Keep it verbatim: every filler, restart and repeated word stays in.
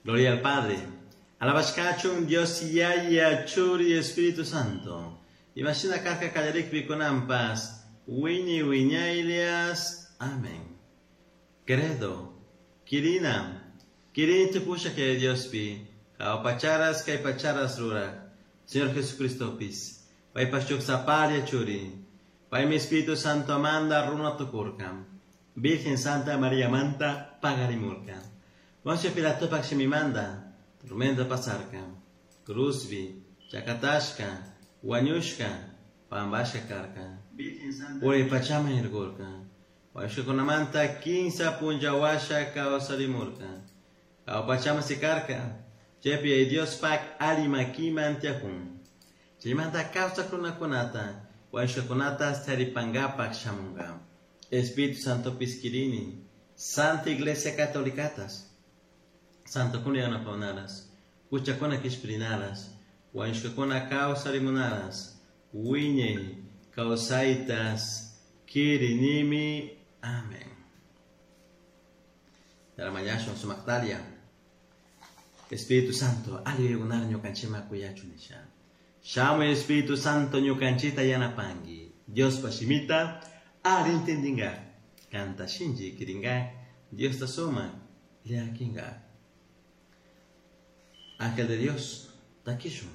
Gloria al Padre. Alabashkachun Dios Yaya Churi Espíritu Santo. Imashina karka kallarikpi kunanpas wiñay wiñaylias. Amén. Credo. Kirina. Kirini tukusha que Diospi. Jahua pacharas kay pacharas ruraj. Señor Jesucristopis. Paypash shuk sapalla churi. Paymi Espíritu Santo manda runa tukurka. Virgen Santa María manta pagarimurka. Poncio Pilatopak shimimanda. Tormenta pasarka. Cruzbi. Chakatashka. Huañushka. Pambashka karka. Uray pachaman irkurka. Wañushkakunamanta kinsa punlla washa kawsarimurka. Jahua pachaman sikarka. Chaypi Yaya Diospak alli makiman tiyakun. Chaymanta kawsak runakunata wañushkakunata taripankapak shamunka. Espíritu Santo kirini, Santa Iglesia Catolicatas, Santokuna yanapawnaras, huchakuna kishpirinaras, wañushkakuna kawsarimunaras, wiñay kawsaytas kirinimi. Amén. Taramañashun sumaktalia. Espíritu Santo, alli yuyaykunara ñukanchikman kuyachun nisha. Shamuy Espíritu Santo ñukanchikta yanapanki. Diospa shimita alli intendinga. Kanta shinchi kiringa. Diosta sumak llakinga. Ángel de Dios, takishun.